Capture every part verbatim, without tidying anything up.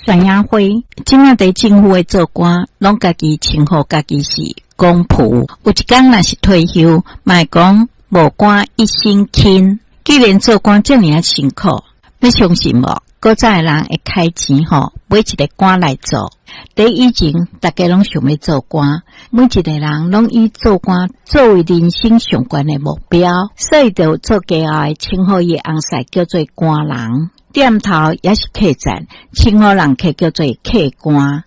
山野花。這馬佇政府的做官，攏家己稱呼家己是公僕。有一工若是退休，嘛會講無官一身輕。既然做官遮爾仔辛苦，欲相信無？古早的人會開錢吼，買一个官來做。佇以前，逐家攏想欲做官，每一个人攏以做官作為人生上懸的目標，所以就做家後的稱呼伊翁婿叫做官人。店頭抑是客棧，稱呼人客叫做客官。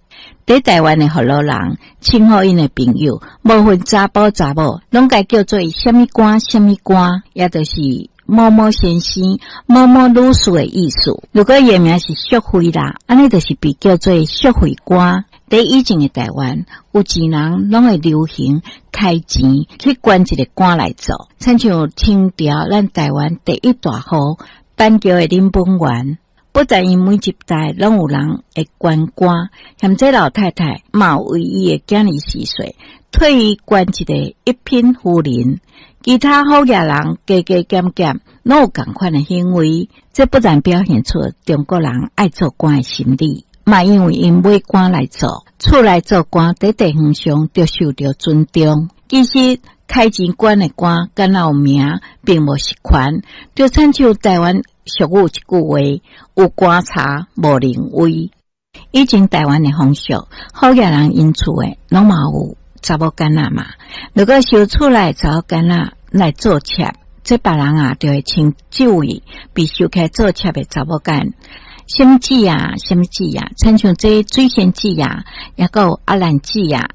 佇台灣的福佬人稱呼𪜶的朋友，無分查埔查某，攏共叫做啥物官啥物官，也就是某某先生、某某女士的意思。如果伊的名是淑惠啦，按呢就是被叫做淑惠官。佇以前的台灣，有錢人攏會流行開錢去捐一个官來做，親像清朝咱台灣第一大戶板橋的林本源，不但𪜶每一代攏有人會捐官，嫌這老太太嘛有為伊的囝兒四歲，替伊捐一个一品夫人。其他好額人加加減減，攏有仝款的行為。這不但表現出中國人愛做官的心理，嘛因為𪜶買官來做，厝內做官佇地方上就受著尊重。其實開錢捐的官，敢若有名，並無實權。就親像台灣俗語一句話：有官茶，無靈威。以前台灣的風俗，好額人𪜶厝的攏嘛有查某囡仔嘛。如果收厝內查某囡仔來做妾，這別人啊就會稱這位被收起來做妾的查某囡，啥物姊啊，啥物姊啊，親像這水仙姊啊，抑閣有阿蘭姊啊。